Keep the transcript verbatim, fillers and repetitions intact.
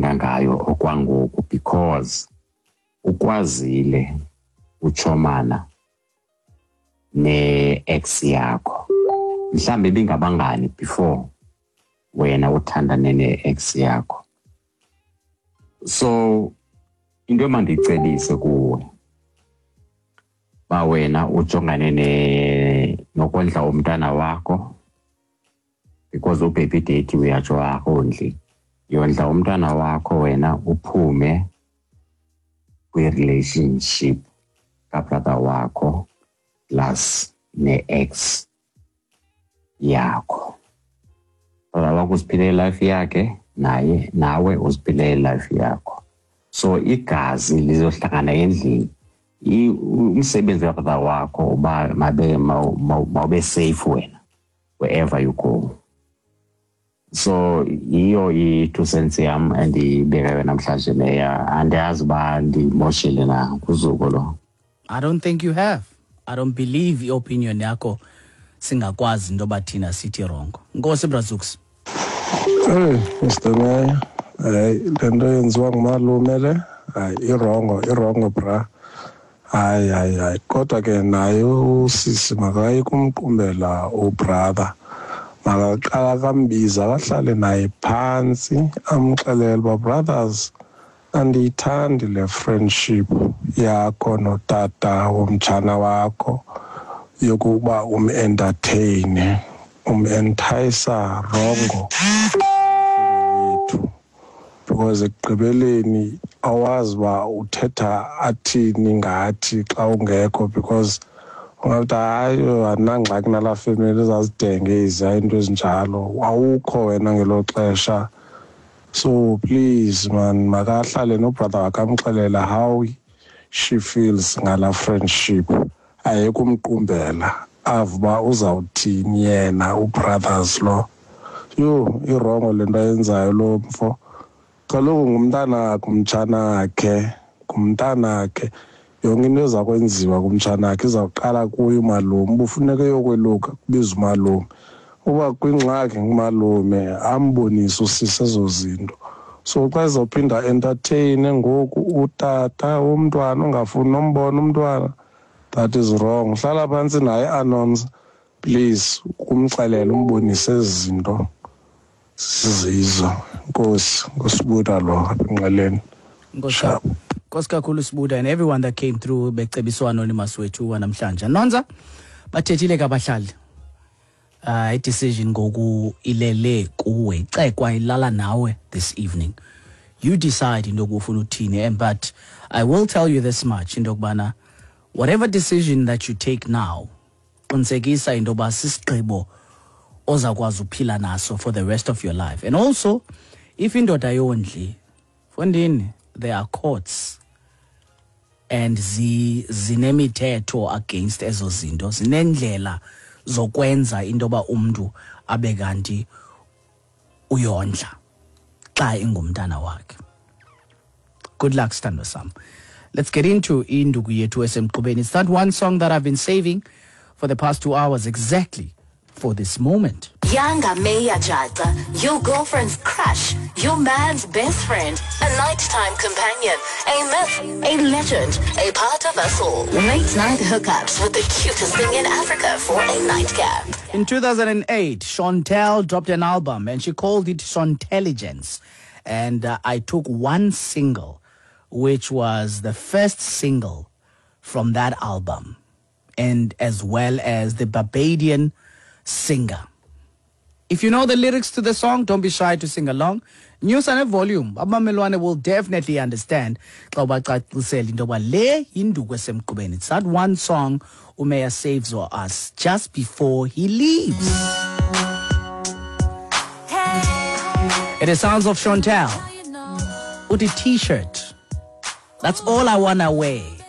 endicinga ngayo okwangoku, because ukwazile utshomana ne-ex yakho. Mhlawumbi ibingabangani before wena uthandane ne-ex yakho. So into emandiyicebise kuwe, uba wena ujongane ne nokondla umntana wakho, because u-baby daddy uyatsho akondli. Yondla umntana wakho wena, uphume kwi-relationship ka-brother wakho plus ne-ex yakho. Brother wakho uziphilele i-life yakhe, naye nawe uziphilele i-life yakho. So igazi lizohlangana endlini. I- umsebenzi ka-brother wakho uba mabe mawube safe wena wherever you go. So yiyo i-two cents yam endiyibekayo namhlanje, Meya. Andiyazi uba ndimoshile na kuzuko lo. I don't think you have. I don't believe i-opinion yakho singakwazi into yoba thina sithi wrong. Nkosi, Brazooks. Hey, Mister Mayor, hayi, le nto yenziwa ngumalume le, hayi, i-wrong, i-wrong bra. Hayi, hayi, hayi, kodwa ke naye usisi makaye kumqumbela u-brother. Makaqala kambiza, akahlale naye phantsi, amxelele uba, "Brothers, andiyithandi le friendship yakho notata womtshana wakho yokuba um-entertain, um-entice wrong yethu, because ekugqibeleni awazi uba uthetha athini ngathi xa ungekho, because ungathi, hayi, andinangxaki nalaa family, ezazidenge eziya, into ezinjalo, awukho wena ngelo xesha. So please man, makahlale no-brother wakhe, amxelela how she feels ngala friendship, ayeke umqumbela, ave uba uzawuthini yena u-brothers lo. Yho, i-wrong le nto ayenzayo lo mfo. Kaloku ngumntanakhe umtshanakhe, ngumntanakhe. Yonke into eza kwenziwa kumtshanakhe izawuqala kuye umalume. Uba ufuneka eyokweluka, kubiza umalume. Uba kwingxaki, ngumalume. Ambonise usisi ezo zinto. So xa ezawuphinda entertain ngoku utata womntwana ongafuni nombona umntwana, that is wrong. Hlala phantsi naye, Anonza, please, kumxelela, umbonise ezi zinto zizizo. Nkosi, nguSibuda lo apha eNgqeleni. Nkosi, nkosi kakhulu Sibuda, and everyone that came through becebiswa anonymous wethu wanamhlanje. Nonza, bathethile ke abahlali. Uh i-decision ngoku ilele kuwe, icekwa ilala nawe this evening. You decide into ufuna uthini, and but I will tell you this much, into yokubana whatever decision that you take now, qinisekisa into yoba sisigqibo ozakwazi uphila naso for the rest of your life. And also, if indoda yondli, mfondini, there are courts and zi zinemithetho against ezo zinto, zinendlela zokwenza into yoba umntu abe kanti uyondla xa ingumntana wakhe. Good luck, sithandwa sam. Let's get into induku yethu esemqubeni. It's that one song that I've been saving for the past two hours exactly for this moment. Yanga Meya Jata, your girlfriend's crush, your man's best friend, a nighttime companion, a myth, a legend, a part of us all. Late night hookups with the cutest thing in Africa for a nightcap. In two thousand eight, Shontelle dropped an album and she called it Shontelligence. And uh, I took one single, which was the first single from that album, and as well as the Barbadian Singer. If you know the lyrics to the song, don't be shy to sing along. Nyusa ne-volume. Abamelwane will definitely understand xa ubacacisela into yoba le yinduku esemqubeni. It's that one song uMeya saves for us just before he leaves. It is sounds of Shontelle. With a T-shirt. That's all I wanna wear.